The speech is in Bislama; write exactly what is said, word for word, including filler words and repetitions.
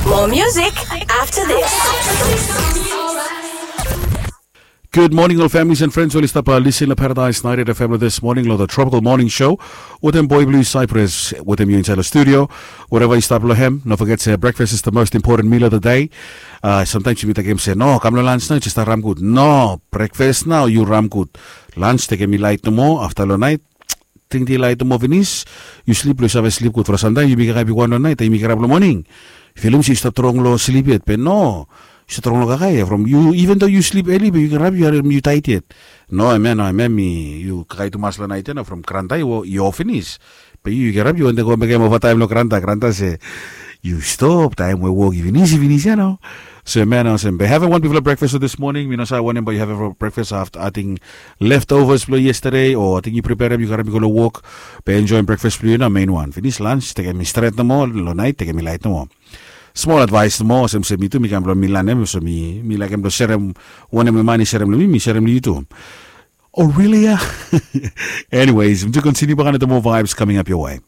More music after this. Good morning ol families and friends oli stap lisin long Paradise ninety-eight F M long this morning long the Tropical Morning Show. Wetem boy blue Cyprus wetem yu insait long studio. Wherever yu stap long hem, no forget se breakfast is the most important meal of the day. Uh, sometimes yumi tekem se no, kam long lunch nao yu stap ram gud. No, breakfast nao yu ram gud. Lunch tekem i lait nomo, afta long nait tingting lait nomo finis, yu slip long yu save slip gud. From samtaim yumi kirap i wan long nait, yumi kirap long moning, filim se yu stap trong long slip yet be no, yu stap trong long kakae. From yu, even though yu slip eli be yu kirap yu harim yu tait yet. No em ya, no em ya, mi yu kakae tumas long nait ya na from granta i o finis. Be yu yu kirap yu wantem go mekem ovataim long granta, granta se yu stop, taim we wok i finis i finis ya nao. So em ya nao olsem be havem wan bigfala breakfast this morning, mi no save wanem bae yu havem breakfast afta ating leftovers blong yesterday o ating yu preperem yu karim i go long wok. Be enjoem breakfast blong yu nao, main wan finis, lunch tekem i stret nomo, long nait tekem i lait nomo. Smol advaes nomo olsem se mi tu mi kam blong mi lanem, so mi mi laekem blong serem. Wanem we man i serem long mi mi serem long yu tu. O really ya. Anyways, mi tu kontiniu bakan long the more vibes coming up your way.